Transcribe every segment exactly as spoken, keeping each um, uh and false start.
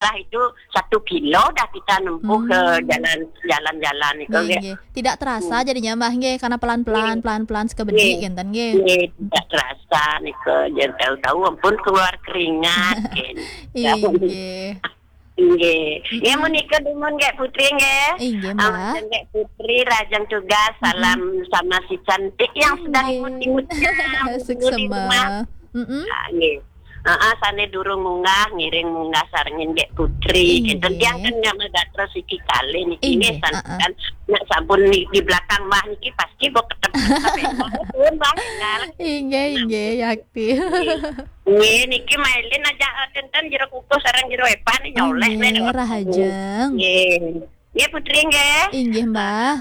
Lah itu satu kilo dah kita nempuh ke jalan-jalan itu, nggih. Nggih. Tidak terasa jadinya, Mbah, nggih, karena pelan-pelan, pelan-pelan sekebedi, ngenten, nggih. Nggih, tidak terasa nika, jan tahu-tahu ampun keluar keringat, nggih. Inggih. Nggih. Ya, menika dumun nggih Putri, nggih. Inggih, Mbah. Ampun nggih Putri, rahajeng tugas, salam sama si cantik yang sedang imut-imutnya, suksema. Ah, nggih. Heeh, sane durung munggah, ngiring munggah sarengin nggih Putri. Inggih. Enten tiang kan nyama gatra siki kalih niki, nggih, santukan. Nek sampun di, di belakang Mbah niki pasti kok ketemu sampai pun Mbah. Inggih, inggih, yakti. Nggih, niki mailin aja enten jero kukuh sareng jero epan nyoleh. Inggih, rahajeng. Nggih. Nggih Putri nggih. Inggih, Mbah.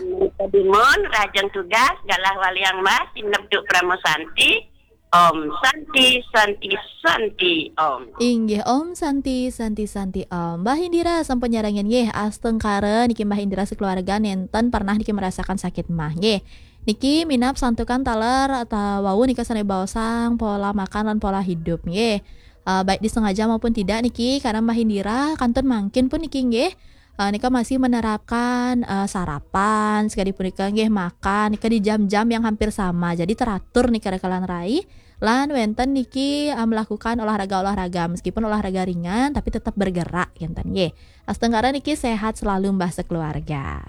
Dumun, rahajeng tugas, galah waliang Mbah, sineb duk Parama Santi. Om Santi, Santi, Santi, Om. Inggih, Om Santi, Santi, Santi, Om. Mbah Indira sampun nyarengin nggih, astungkara niki Mbah Indira sekeluarga nenten pernah niki merasakan sakit mah nggih. Niki minab santukan taler atau wau nika sane baosang pola makan lan pola hidup nggih. Eh, baik disengaja maupun tidak niki, karena Mbah Indira kantun mangkin pun niki nggih. Eh, nika masih menerapkan, eh, sarapan, sekali punika nggih makan nika di jam-jam yang hampir sama. Jadi teratur nika rekalan rai. Lan wenten niki, eh, melakukan olahraga-olahraga, meskipun olahraga ringan tapi tetap bergerak, ngenten nggih. Astungkara niki sehat selalu Mbah sekeluarga.